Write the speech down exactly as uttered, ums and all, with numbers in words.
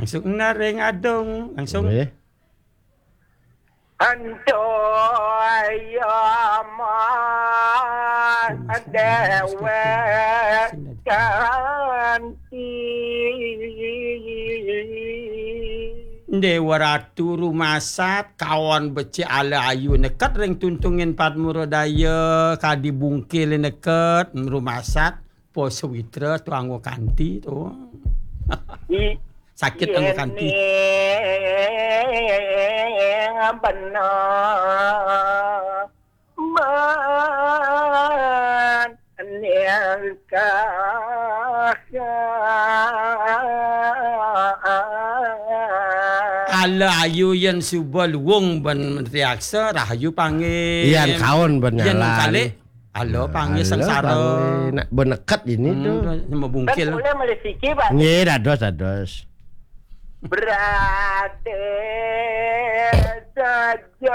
Langsung ngareng adung, langsung. Nggih. Antoyama dewek kanti. Dewa Ratu rumasat kaon becik ala ayu neket ring tuntungin Padmurodaya kadi bungkil neket rumasat po sawitra tuanggo kanti to. I Sakit anggo kanti. Benar. Menelkah. Ala ayu yen suba luung ben mentriaksa rahayu panggih. Yan kaon ben Yen nyalan. Kali ala panggih Ala sengsara. Panggih nak benekat ini Hmm, tuh. Sama bungkil. Boleh melih siki, Pak. Nggih, dados, dados. Berate saja.